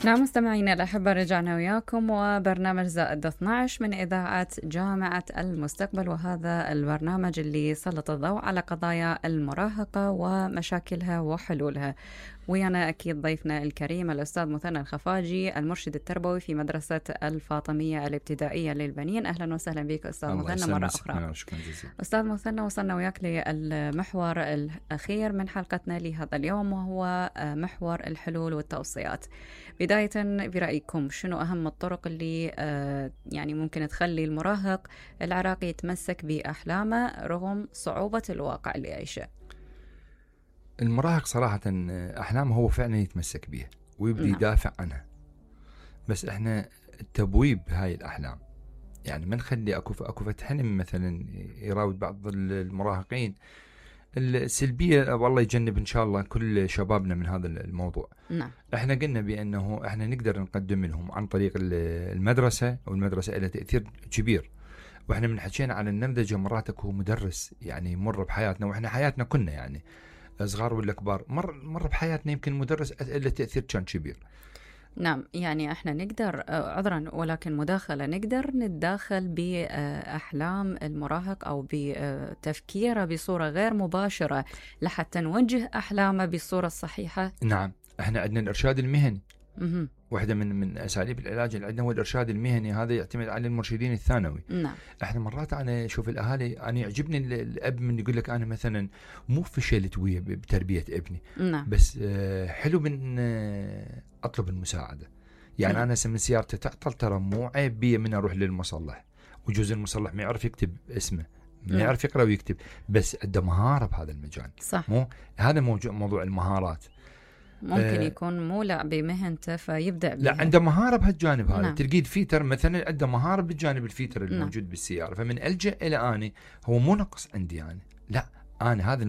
نعم مستمعينا الأحبة، رجعنا وياكم وبرنامج زائد 12 من إذاعة جامعة المستقبل، وهذا البرنامج اللي سلط الضوء على قضايا المراهقة ومشاكلها وحلولها. ويانا أكيد ضيفنا الكريم الأستاذ مثنى الخفاجي، المرشد التربوي في مدرسة الفاطمية الابتدائية للبنين. أهلا وسهلا بك أستاذ مثنى مرة أخرى. أستاذ مثنى، وصلنا وياك للمحور الأخير من حلقتنا لهذا اليوم، وهو محور الحلول والتوصيات. بداية برأيكم شنو أهم الطرق اللي يعني ممكن تخلي المراهق العراقي يتمسك بأحلامه رغم صعوبة الواقع اللي يعيشه؟ المراهق صراحة أحلامه هو فعلا يتمسك بيها ويبدي يدافع عنها، بس إحنا تبويب هاي الأحلام، يعني ما نخلي أكو فتحنم مثلا يراود بعض المراهقين السلبية. والله يجنب إن شاء الله كل شبابنا من هذا الموضوع. نعم. إحنا قلنا بأنه إحنا نقدر نقدم لهم عن طريق المدرسة، والمدرسة لها تأثير كبير. وإحنا من حكينا على النمذجة مرات أكو مدرس يعني مر بحياتنا، وإحنا حياتنا كنا يعني صغار ولا كبار مر بحياتنا يمكن مدرس له تأثير كان كبير. نعم، يعني احنا نقدر عذرا ولكن مداخلة نقدر نتداخل بأحلام المراهق أو بتفكيره بصورة غير مباشرة لحتى نوجه أحلامه بالصورة الصحيحة. نعم، احنا عندنا الإرشاد المهني. واحدة من أساليب العلاج اللي عندنا هو الإرشاد المهني، هذا يعتمد على المرشدين الثانوي. نعم. احنا مرات أنا أشوف الأهالي، أنا يعجبني الأب من يقول لك أنا مثلا مو فشلت ويا بتربية ابني. نعم. بس حلو من أطلب المساعدة. يعني نعم. أنا من سيارتي تعطل، ترى مو عيب بي من أروح للمصلح، وجوز المصلح ما يعرف يكتب اسمه، ما يعرف يقرأ ويكتب، بس عنده مهارة بهذا المجال. صح. مو هذا موضوع المهارات. ممكن يكون مولع بمهنته فيبدأ بها. لا، عنده مهارة بهالجانب هذا. نعم. تلقيد فيتر مثلا عنده مهارة بالجانب الفيتر الموجود بالسيارة، فمن ألجأ إلى أني هو مو نقص عندي يعني، لا أنا هذا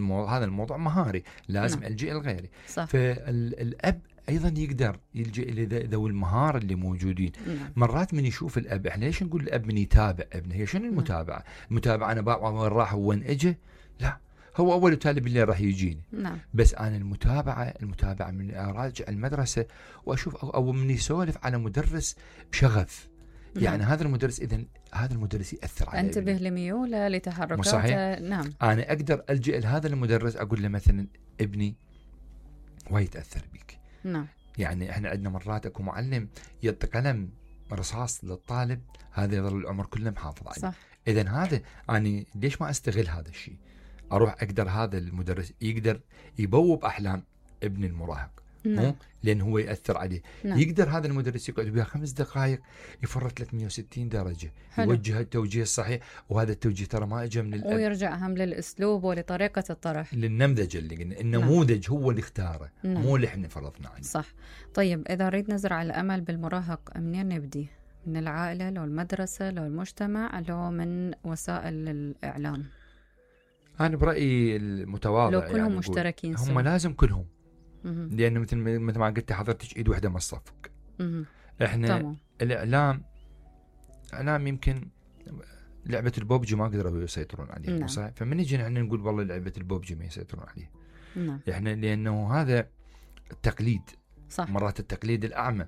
الموضوع مهاري لازم ألجأ لغيري. فالأب أيضا يقدر يلجأ إلى ذوي المهارة اللي موجودين. مرات من يشوف الأب، إحنا ليش نقول الأب من يتابع ابنه؟ هي شنو المتابعة؟ المتابعة أنا بابا وين راح وين إجا؟ لا، هو أول وتالي بالليل راح يجيني. نعم. بس أنا المتابعة من أراجع المدرسة وأشوف أو من يسولف على مدرس بشغف. يعني هذا المدرس، إذن هذا المدرس يأثر عليه، انتبه لميوله لتحركاته. صحيح؟ نعم. أنا أقدر ألجأ لهذا المدرس أقول له مثلا ابني ويتأثر بك. نعم. يعني إحنا عندنا مرات أكو معلم يعطي قلم رصاص للطالب، هذا يظل العمر كله محافظ عليه. صح. إذن هذا أنا ليش ما أستغل هذا الشيء؟ أروح أقدر هذا المدرس يقدر يبوب أحلام ابن المراهق. نعم. لأن هو يأثر عليه. نعم. يقدر هذا المدرس يقعد بها 5 دقائق يفرط 360 درجة. حلو. يوجه التوجيه الصحيح، وهذا التوجيه ترى ما اجى من الأب، ويرجع هم للأسلوب ولطريقة الطرح، للنمذجة اللي قلنا النموذج. نعم. هو اللي اختاره. نعم. مو اللي احنا فرضنا عليه. صح. طيب إذا نريد نزرع الأمل بالمراهق، منين نبدي؟ من العائلة لو المدرسة لو المجتمع لو من وسائل الإعلام؟ أنا برأيي المتواضع لو كلهم يعني مشتركين هم لازم كلهم. لأنه مثل ما قلت حضرتك إيد واحدة ما تصفق. إحنا طبعا. الإعلام يمكن لعبة البوبجي ما قدروا يسيطرون عليها. نعم. صحيح. فمن يجي نحن نقول والله لعبة البوبجي ما يسيطرون عليها. نعم. إحنا لأنه هذا التقليد. صح. مرات التقليد الأعمى.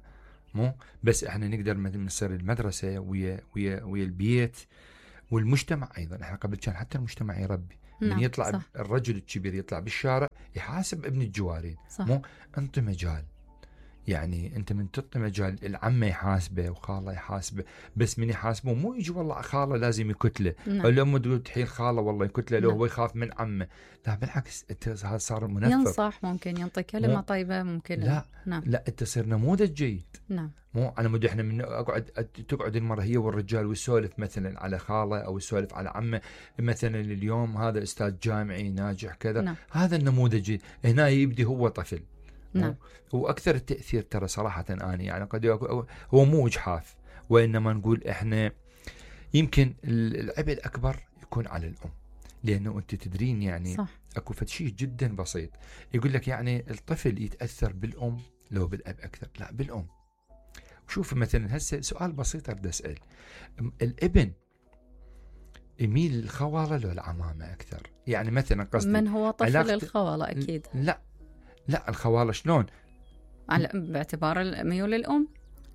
مو بس إحنا نقدر نصير المدرسة ويا البيت والمجتمع أيضا. إحنا قبل كان حتى المجتمع يربي. نعم. من يطلع صح. الرجل الكبير يطلع بالشارع يحاسب ابن الجوارين. صح. مو أنت مجال، يعني أنت من تعطي مجال العمة يحاسبه وخاله يحاسبه، بس من يحاسبه مو يجي والله خاله لازم يكتله. نعم. الأم تقول تحيل خاله والله يكتله لو. نعم. هو يخاف من عمه. لا بالعكس، هذا صار منفر. ينصح، ممكن ينطي كلمة طيبة، ممكن لا. نعم. لا، أنت تصير نموذج جيد. نعم. مو أنا مدي إحنا من تقعد المرة هي والرجال ويسولف مثلا على خاله أو يسولف على عمه، مثلا اليوم هذا أستاذ جامعي ناجح كذا. نعم. هذا النموذج هنا يبدي هو طفل. نعم. هو أكثر التأثير ترى صراحة أنا يعني قد هو مو إجحاف، وإنما نقول إحنا يمكن العبء الأكبر يكون على الأم، لأنه أنت تدرين يعني صح. أكو شيء جدا بسيط يقول لك يعني الطفل يتأثر بالأم لو بالأب أكثر. لا، بالأم. شوف مثلا هسه سؤال بسيط أريد أسأل، الابن يميل للخوالة لو العمامة أكثر؟ يعني مثلا قصدي من هو طفل الخوالة أكيد. لا الخوالة شلون؟ باعتبار ميول الأم.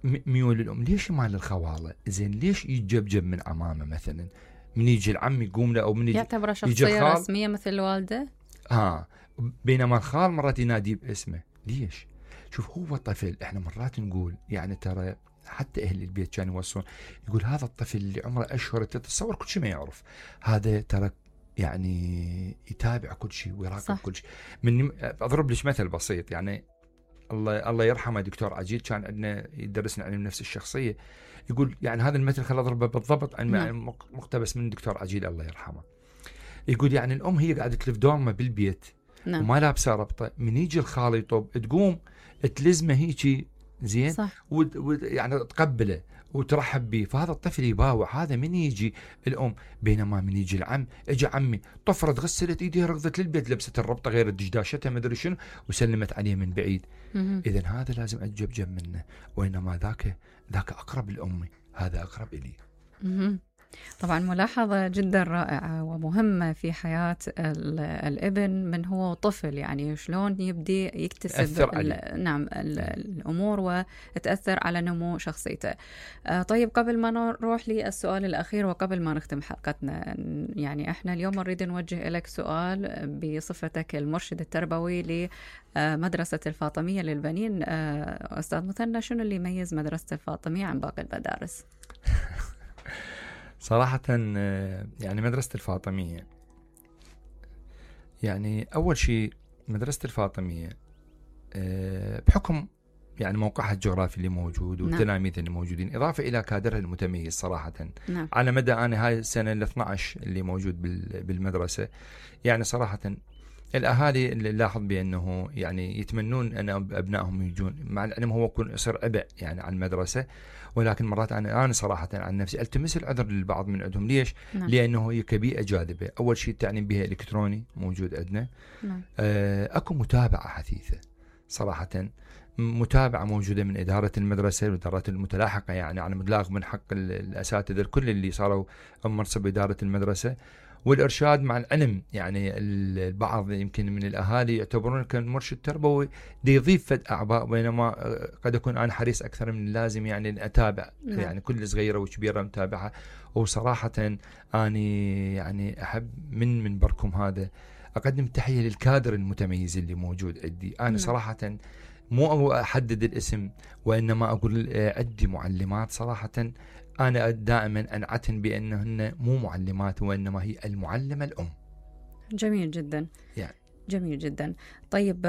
ميول الأم. ليش مال الخوالة؟ زين ليش يتجبجب من عمامه مثلا؟ من يجي العم يقوم له، أو من يعتبر شخصية رسمية مثل الوالدة. بينما الخال مرات ينادي باسمه. ليش؟ شوف، هو طفل. احنا مرات نقول يعني ترى حتى أهل البيت كانوا يوصون، يقول هذا الطفل اللي عمره أشهر تتصور كل شيء ما يعرف، هذا ترى يعني يتابع كل شيء ويراقب كل شيء. أضرب لك مثل بسيط، يعني الله يرحمه دكتور عجيل، كان عندنا يدرسنا علم نفس الشخصية، يقول يعني هذا المثل خل أضربه بالضبط مقتبس من دكتور عجيل الله يرحمه. يقول يعني الأم هي قاعدة تلف دورمة بالبيت وما لابسة ربطة، من يجي الخال يطب تقوم تلزمه هيجي زين، يعني تقبله وترحب به، فهذا الطفل يباوع. هذا من يجي الأم. بينما من يجي العم، اجى عمي طفرت غسلت ايديها ركضت للبيت لبست الربطة غير دشداشتها ما ادري شنو وسلمت عليه من بعيد. اذا هذا لازم اتجبجب منه، وإنما ذاك أقرب لأمي، هذا أقرب إلي. طبعا ملاحظة جدا رائعة ومهمة في حياة الابن من هو طفل، يعني شلون يبدي يكتسب الأمور وتأثر على نمو شخصيته. طيب قبل ما نروح للسؤال الأخير وقبل ما نختم حلقتنا، يعني احنا اليوم نريد نوجه لك سؤال بصفتك المرشد التربوي لمدرسة الفاطمية للبنين. أستاذ مثنى، شنو اللي يميز مدرسة الفاطمية عن باقي المدارس؟ صراحة يعني مدرسة الفاطمية، يعني أول شيء مدرسة الفاطمية بحكم يعني موقعها الجغرافي اللي موجود والتلاميذ اللي موجودين، إضافة إلى كادرها المتميز صراحة على مدى أنا هاي السنة ال 12 اللي موجود بالمدرسة. يعني صراحة الأهالي اللي لاحظ بأنه يعني يتمنون أن أبنائهم يجون، مع العلم هو يكون يصير عبء يعني على المدرسة، ولكن مرات أنا صراحة عن نفسي التمس العذر للبعض من عندهم. ليش؟ لأنه هي كبيئة جاذبة. أول شيء التعليم بها إلكتروني موجود عندنا، أكو متابعة حثيثة صراحة، متابعة موجودة من إدارة المدرسة والإدارات المتلاحقة، يعني على مبلغ من حق الأساتذة الكل اللي صاروا منصب إدارة المدرسة، والإرشاد. مع العلم يعني البعض يمكن من الأهالي يعتبرون كمرشد تربوي دي يضيف فد أعباء، بينما قد أكون أنا حريص أكثر من اللازم يعني أتابع يعني كل صغيرة وكبيرة متابعة. وصراحة أني يعني أحب من منبركم هذا أقدم تحية للكادر المتميز اللي موجود عندي. أنا صراحة مو أحدد الاسم، وإنما أقول عندي معلمات صراحة أنا دائما أنعتن بأنهن مو معلمات وإنما هي المعلمة الأم. جميل جدا يعني. جميل جدا. طيب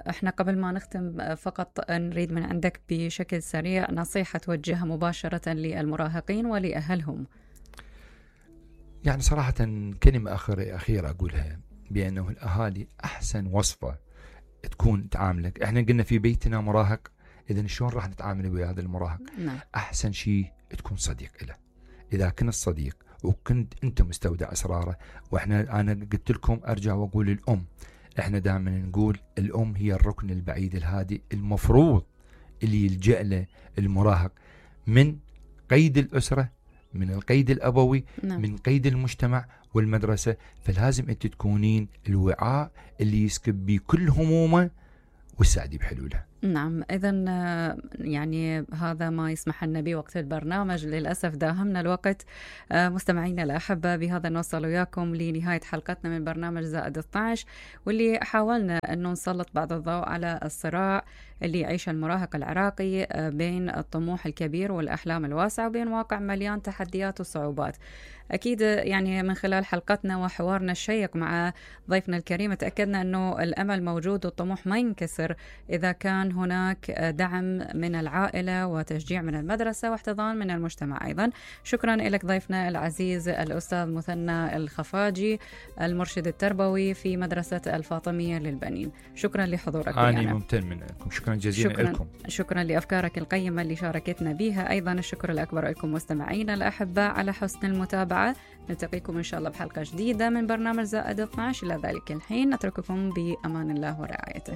احنا قبل ما نختم فقط نريد من عندك بشكل سريع نصيحة توجهها مباشرة للمراهقين ولأهلهم. يعني صراحة كلمة أخيرة أقولها، بأنه الأهالي أحسن وصفة تكون تعاملك. احنا قلنا في بيتنا مراهق، إذن شلون راح نتعامل ويا هذا المراهق؟ أحسن شيء تكون صديق له. إذا كنت صديق وكنت أنت مستودع أسراره، أنا قلت لكم أرجع وأقول الأم، إحنا دائما نقول الأم هي الركن البعيد الهادي المفروض اللي يلجأ له المراهق من قيد الأسرة، من القيد الأبوي، من قيد المجتمع والمدرسة. فلازم أنت تكونين الوعاء اللي يسكب بيه كل همومه والسعدي بحلوله. نعم، إذن يعني هذا ما يسمح لنا به وقت البرنامج، للأسف داهمنا الوقت. مستمعينا الأحبة، بهذا نوصل وياكم لنهاية حلقتنا من برنامج زائد 12، واللي حاولنا أنه نسلط بعض الضوء على الصراع اللي يعيش المراهق العراقي بين الطموح الكبير والأحلام الواسعة وبين واقع مليان تحديات وصعوبات. أكيد يعني من خلال حلقتنا وحوارنا الشيق مع ضيفنا الكريم تأكدنا أنه الأمل موجود والطموح ما ينكسر إذا كان هناك دعم من العائلة وتشجيع من المدرسة واحتضان من المجتمع أيضا. شكرا لك ضيفنا العزيز الأستاذ مثنى الخفاجي، المرشد التربوي في مدرسة الفاطمية للبنين. شكرا لحضورك. أنا ممتن منكم، شكرا جزيلا لكم. شكرا لأفكارك القيمة اللي شاركتنا بها. أيضا الشكر الأكبر لكم مستمعينا الأحباء على حسن المتابعة. نلتقيكم إن شاء الله بحلقة جديدة من برنامج زائد 12. إلى ذلك الحين نترككم بأمان الله ورعايته.